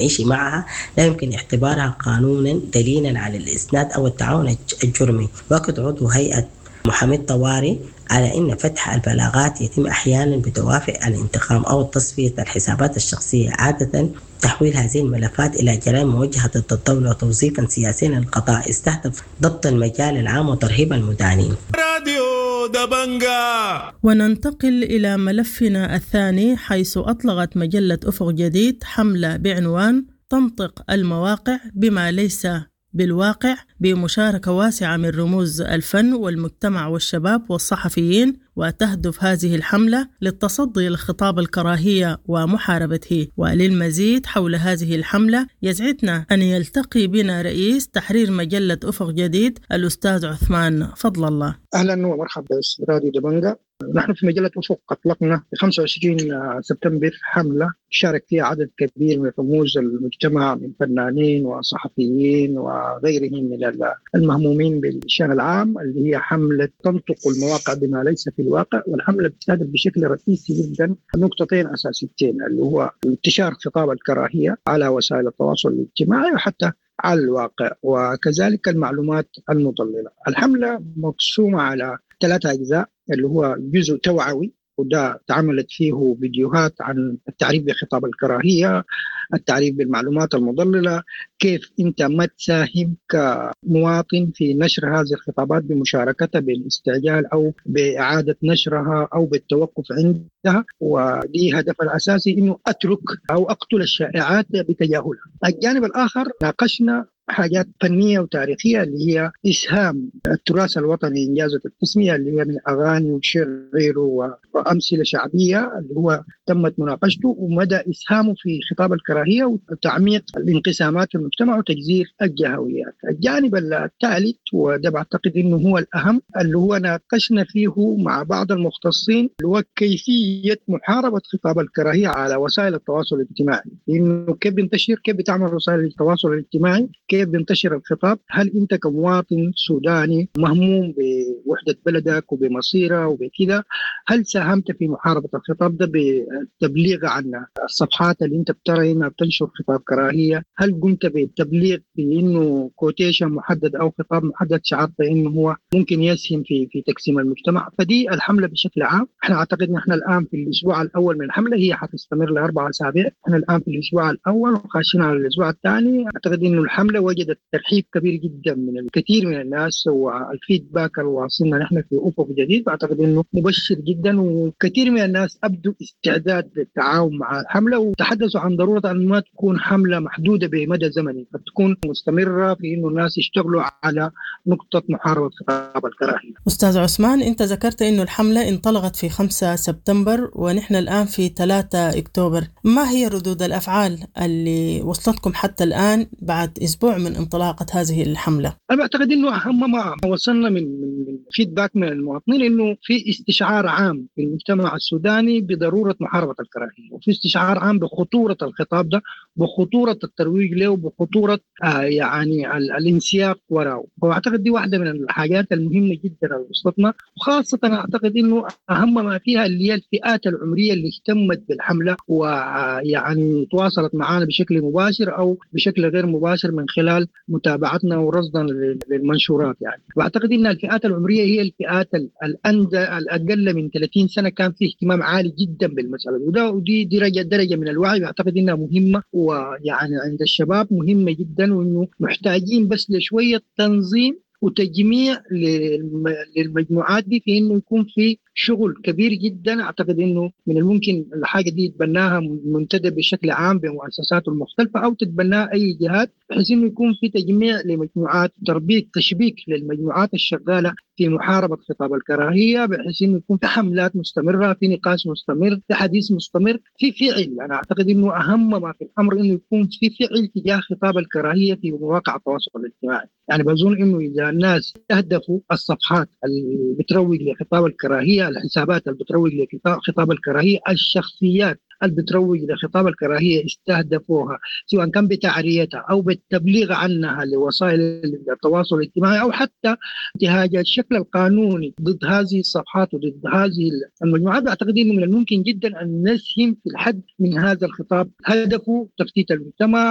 التعيش معها لا يمكن اعتبارها قانونا دليلا على الإسناد أو التعاون الجرمي. وأكد عضو هيئة محامي الطوارئ على أن فتح البلاغات يتم أحيانا بدوافع الانتقام أو تصفية الحسابات الشخصية، عادة تحويل هذه الملفات إلى جرائم موجهة ضد الدولة وتوظيفا سياسيا للقضاء استهدف ضبط المجال العام وترهيب المدانين. راديو دبنجا. وننتقل إلى ملفنا الثاني، حيث أطلقت مجلة أفق جديد حملة بعنوان تنطق المواقع بما ليس بالواقع، بمشاركة واسعة من رموز الفن والمجتمع والشباب والصحفيين. وتهدف هذه الحملة للتصدي لخطاب الكراهية ومحاربته. وللمزيد حول هذه الحملة يسعدنا أن يلتقي بنا رئيس تحرير مجلة أفق جديد الأستاذ عثمان فضل الله. أهلا ومرحبا راديو دبنجا. نحن في مجلة أفق أطلقنا في 25 سبتمبر حملة شارك فيها عدد كبير من رموز المجتمع من فنانين وصحفيين وغيرهم من المهمومين بالشأن العام، اللي هي حملة تنطق المواقع بما ليس في الواقع. والحملة بتستهدف بشكل رئيسي جدا نقطتين أساسيتين، اللي هو انتشار خطاب الكراهية على وسائل التواصل الاجتماعي وحتى على الواقع، وكذلك المعلومات المضللة. الحملة مقسومة على 3 أجزاء، اللي هو جزء توعوي وده تعملت فيه فيديوهات عن التعريف بخطاب الكراهية، التعريف بالمعلومات المضللة، كيف أنت ما تساهم كمواطن في نشر هذه الخطابات بمشاركتها بالاستعجال أو بإعادة نشرها أو بالتوقف عندها. ودي هدف الأساسي إنه أترك أو أقتل الشائعات بتجاهلها. الجانب الآخر ناقشنا حاجات فنية وتاريخية اللي هي إسهام التراث الوطني إنجازة التسمية اللي هي من أغاني وشعر وأمثلة شعبية اللي هو تمت مناقشته ومدى إسهامه في خطاب الكراهية وتعميق الانقسامات في المجتمع وتجذير الجهويات. الجانب الثالث وده بعتقد إنه هو الأهم اللي هو ناقشنا فيه مع بعض المختصين اللي هو كيفية محاربة خطاب الكراهية على وسائل التواصل الاجتماعي، إنه كيف بينتشر، كيف بتعمل وسائل التواصل الاجتماعي، كيف بينتشر الخطاب. هل أنت كمواطن سوداني مهموم بوحدة بلدك وبمصيره وبكذا، هل ساهمت في محاربة الخطاب ده بالتبليغ عن الصفحات اللي أنت بترى إنها بتنشر خطاب كراهية؟ هل قمت بالتبليغ بإنه quotation محدد أو خطاب محدد شعرت إنه هو ممكن يسهم في تقسيم المجتمع؟ فدي الحملة بشكل عام. احنا أعتقد إن احنا الآن في الأسبوع الأول من الحملة، هي حتستمر ل4 أسابيع. احنا الآن في الأسبوع الأول وخاشين على الأسبوع الثاني. أعتقد إنه الحملة وجدت ترحيب كبير جدا من الكثير من الناس، وال feedback اللي واصلنا نحن في أفق جديد أعتقد إنه مبشر جدا، وكثير من الناس أبدوا استعداد للتعاون مع الحملة وتحدثوا عن ضرورة أن ما تكون حملة محدودة بمدى زمني، فتكون مستمرة في إنه الناس يشتغلوا على نقطة محاربة خطاب الكراهية. أستاذ عثمان، أنت ذكرت إنه الحملة انطلقت في 5 سبتمبر ونحن الآن في 3 أكتوبر، ما هي ردود الأفعال اللي وصلتكم حتى الآن بعد أسبوع من انطلاقة هذه الحملة؟ أنا بعتقد إنه أهم ما وصلنا من فيدباك من المواطنين إنه في استشعار عام في المجتمع السوداني بضرورة محاربة الكراهية، وفي استشعار عام بخطورة الخطاب ده، بخطورة الترويج له، وبخطورة يعني الانسياق وراءه. فأعتقد دي واحدة من الحاجات المهمة جدا اللي وصلتنا، وخاصة أعتقد إنه أهم ما فيها اللي هي الفئات العمرية اللي اهتمت بالحملة ويعني تواصلت معنا بشكل مباشر أو بشكل غير مباشر من خلال متابعتنا ورصدنا للمنشورات. يعني واعتقد ان الفئات العمريه هي الفئات الاقل من 30 سنه كان في اهتمام عالي جدا بالمساله، وده ودي درجه من الوعي بعتقد انها مهمه، ويعني عند الشباب مهمه جدا، وانه محتاجين بس لشويه تنظيم وتجميع للمجموعات دي في انه يكون في شغل كبير جدا. اعتقد انه من الممكن الحاجه دي يتبناها منتدى بشكل عام بمؤسساته المختلفه او تتبناها اي جهات، بحيث انه يكون في تجميع لمجموعات، تربيط، تشبيك للمجموعات الشغاله في محاربه خطاب الكراهيه، بحيث انه يكون في حملات مستمره، في نقاش مستمر، في حديث مستمر، في فعل. انا اعتقد انه اهم ما في الامر انه يكون في فعل تجاه خطاب الكراهيه في مواقع التواصل الاجتماعي. يعني بظن انه اذا الناس استهدفوا الصفحات اللي بتروج لخطاب الكراهيه، الحسابات اللي بتروج لخطاب الكراهيه، الشخصيات اللي بتروج لخطاب الكراهيه استهدفوها، سواء كان بتعريتها او بالتبليغ عنها لوسائل التواصل الاجتماعي، او حتى انتهاج الشكل القانوني ضد هذه الصفحات وضد هذه المجموعات، اعتقد انه من الممكن جدا ان نسهم في الحد من هذا الخطاب. هدفه تفتيت المجتمع،